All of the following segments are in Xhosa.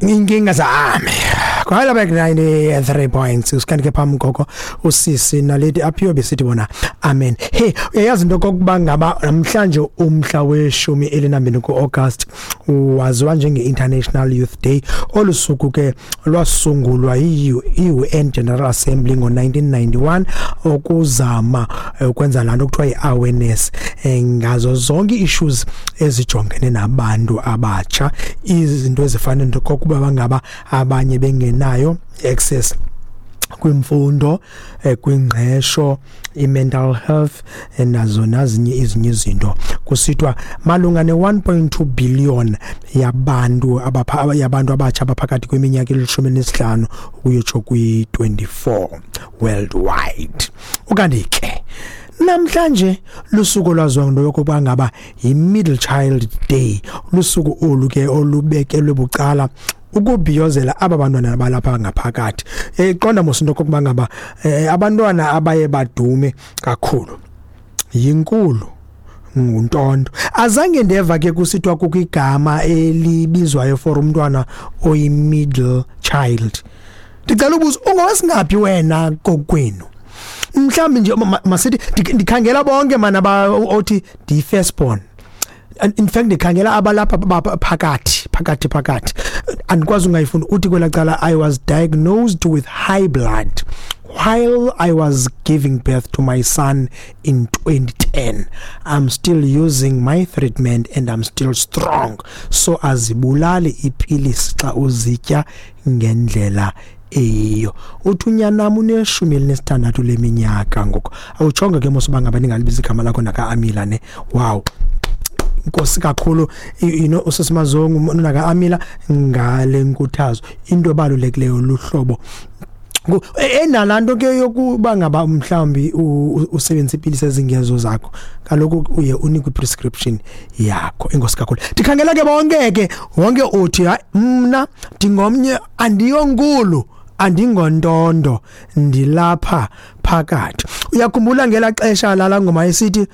Inkinga zami kwala back 93.6. Kanti ke phambi koko usisi naledi aphiwe besithi bona amen. Hey, uyayazi into kokuba ngaba namhlanje umhla we-12 ku-August waziwa njenge-International Youth Day. Olu suku ke lwasungulwa yi-UN General Assembly ngo-1991 ukuzama ukwenza laa nto kuthiwa yi-awareness ngazo zonke ii-issues ezijongene nabantu abatsha, izinto ezifana nto kokuba bangaba abanye bengenayo access kwimfundo, kwingqesho, i-mental health, nazo nazinye ezinye izinto. Kusithiwa malunga ne-1.2 billion yabantu abapha yabantu abatsha abaphakathi kweminyaka eli-15 ukuyotsho kwi-24 worldwide. Ukanti ke namhlanje lusuku olwaziwa ngento yokokuba ngaba yi-Middle Child Day. Lusuku olu ke olubekelwe bucala ukubhiyozela aba bantwana balapha ngaphakathi. Qonda mos into okokuba ngaba abantwana abaye badume kakhulu yinkulu nguntondo. Azange ndeva ke kusithiwa kukho igama elibizwayo for umntwana oyi-middle child. Ndicela ubuza, ungowesingaphi wena kokwenu? Mhlawumbi nje masithi ndikhangela bonke mana othi ndiyi-first born. In fact, ndikhangela abalapha phakathi phakathi phakathi. Andikwazi ungayifuni uthi kwelaa cala, "I was diagnosed with high blood while I was giving birth to my son in 2010. I'm still using my treatment and I'm still strong." So azibulali ipilisi xa uzitya ngendlela eyiyo. Uthi unyanam une-16 leminyaka ngoku. Awutshongo ke mos uba ngaba ndingalibiza igama lakho naka-Amila ne. Wow, inkosi kakhulu, usisimazongu naka-Amila ngale nkuthazo. Into ebalulekileyo luhlobo enalaa nto ke yokuba ngaba mhlawumbi usebenzisa iipilisi ezingezo zakho, kaloku uye unikwe i-prescription yakho. Inkosi kakhulu. Ndikhangela ke bonke ke, wonke uthi hayi, mna ndingomnye, andiyonkulu, andingontondo, ndilapha phakathi. Uyakhumbula ngelaa xesha lala ngoma esithi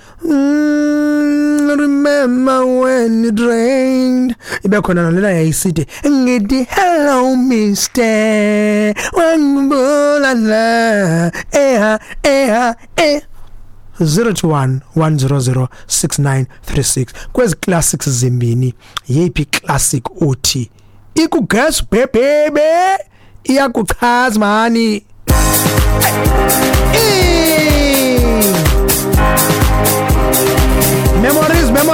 "Remember When It Rained"? Ibe khona nalena yayisithi ngithi "Hello Mister Wangibulala eha eha eh". 021 100 6936. Kwezi classics zimbini, yeyiphi classic uthi ikugas bebebe iyakuchaza mani? Memories, memories.